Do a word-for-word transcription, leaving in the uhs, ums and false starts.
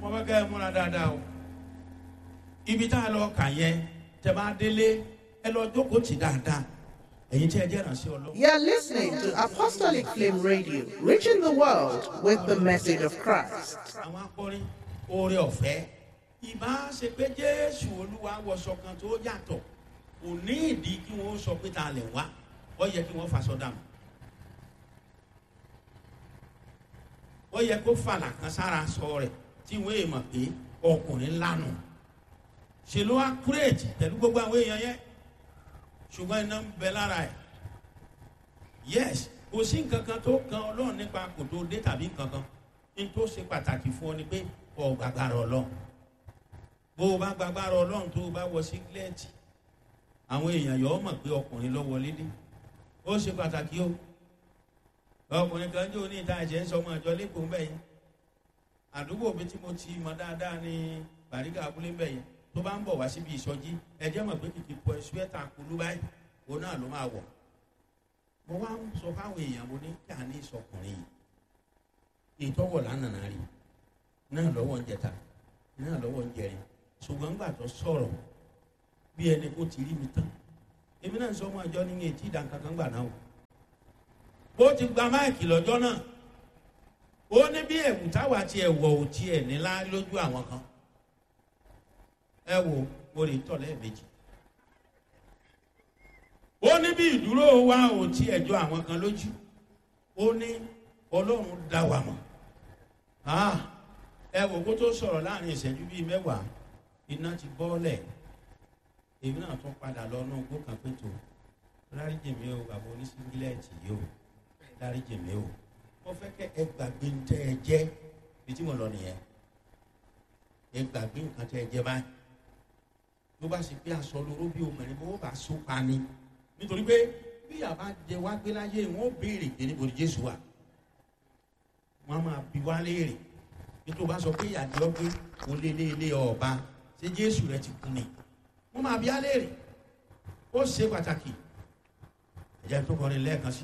Mo fẹ́ kẹ́ ẹ múra dáadáa o. Ibi tá a lọ kà yẹn, tẹ́ bá délé, ẹ lọ jókòó tì dáadáa. Ẹ̀yin tí ẹ jẹ́ ìrànṣẹ́ Ọlọ́run. You're listening to Apostolic Flame Radio, reaching the world with the message of Christ. Àwọn akọrin, oore ọ̀fẹ́, ìbá ṣe pé Jésù Olúwa wọṣọ kan tó yàtọ̀, kò ní ìdí kí wọ́n sọ pé ta lẹ̀ wá. Ó yẹ kí wọ́n faṣọ dànù, ó yẹ kó fàlà kan sára sọ rẹ̀ tí wọ́n èèmọ̀ pé ọkùnrin lánà. Ṣe ló wá kúrèjì pẹ̀lú gbogbo àwọn èèyàn yẹn, ṣùgbọ́n iná ń bẹ lára ẹ̀. Yes, kò sí nǹkan kan tó kan Ọlọ́run nípa kò tó dé tàbí nǹkan kan. Ní tó ṣe pàtàkì fún ọ ni pé ọ gbàgbára Ọlọ́run. Bó o bá gbàgbára Ọlọ́run, tó o bá wọ sígílẹ́ẹ̀tì, àwọn èèyàn yọ ọ mọ̀ pé ọkùnrin ló wọlé dé. Ó ṣe pàtàkì o. Ọkùnrin kan jò ní ìta ẹ̀jẹ̀ ń sọ ọmọ ìjọ lẹ́kọ̀ọ́ ń bẹ̀ yẹn. Àdúgbò mi tí mo ti mọ dáadáa ní Bàrígà abúlé ń bẹ̀ yẹn. Tó bá ń bọ̀ wá síbi ìsọjí, ẹjẹ́ mọ̀ pé kìkì pọ̀ ṣúẹ́tà kulú báyìí òun náà ló máa wọ̀. Mo wá ń sọ fáwọn èèyàn, mo ní kí a ní ìsọkùnrin yìí, ìtọ́wọ̀ lánàá rí náà lọ́wọ́ ń jẹta náà lọ́wọ́ ń jẹrin. Ṣùgbọ́n gbà tó sọ̀rọ̀, bí ẹni kó ti rí mi tán. Èmi náà sọ ọmọ àjọ ní etí ìdánkankan gbà náà o. Ó ti gba máìkì lọ́jọ́ náà. Ó ní bí ẹ̀wù táwa ti ẹ̀wọ̀ ò tiẹ̀ nílá lójú àwọn kan. Ẹ wo, mo lè tọ̀ lẹ́ẹ̀mejì. Ó ní bí ìdúró wa ò tí ẹjọ́ àwọn kan lójú. Ó ní Ọlọ́run dá wa mọ̀. Ah, ẹ wò kó tó sọ̀rọ̀, láàrin ìṣẹ́jú bíi mẹ́wàá, iná ti bọ́ọ̀lẹ̀. Èmi náà tún padà lọ náà gbó kan pé tó dáríjì mi o, bàbá oníṣíngílẹ̀tì yìí o, dáríjì mi o. Mo fẹ́ kẹ́ ẹ gbàgbé ń tẹ́ ẹ jẹ́ bí tí mo lọ nìyẹn. Ẹ gbàgbé nǹkan tẹ́ ẹ jẹ́ báyìí. Ló bá sì pé aṣọ lóró bí obìnrin bó bá so pa ni, nítorí pé bí àbá jẹ wá gbé láyé, wọn ó béèrè pé níbo ni Jésù wà. Wọn á máa bi wá léèrè bí tó bá sọ pé ìyàdí ọgbẹ kò lé lé lé ọba. Ṣé Jésù rẹ ti kú ni? Wọn máa bi á léèrè. Ó ṣe pàtàkì. Ẹ̀jẹ̀ tó kọrin lẹ́ẹ̀kan sí.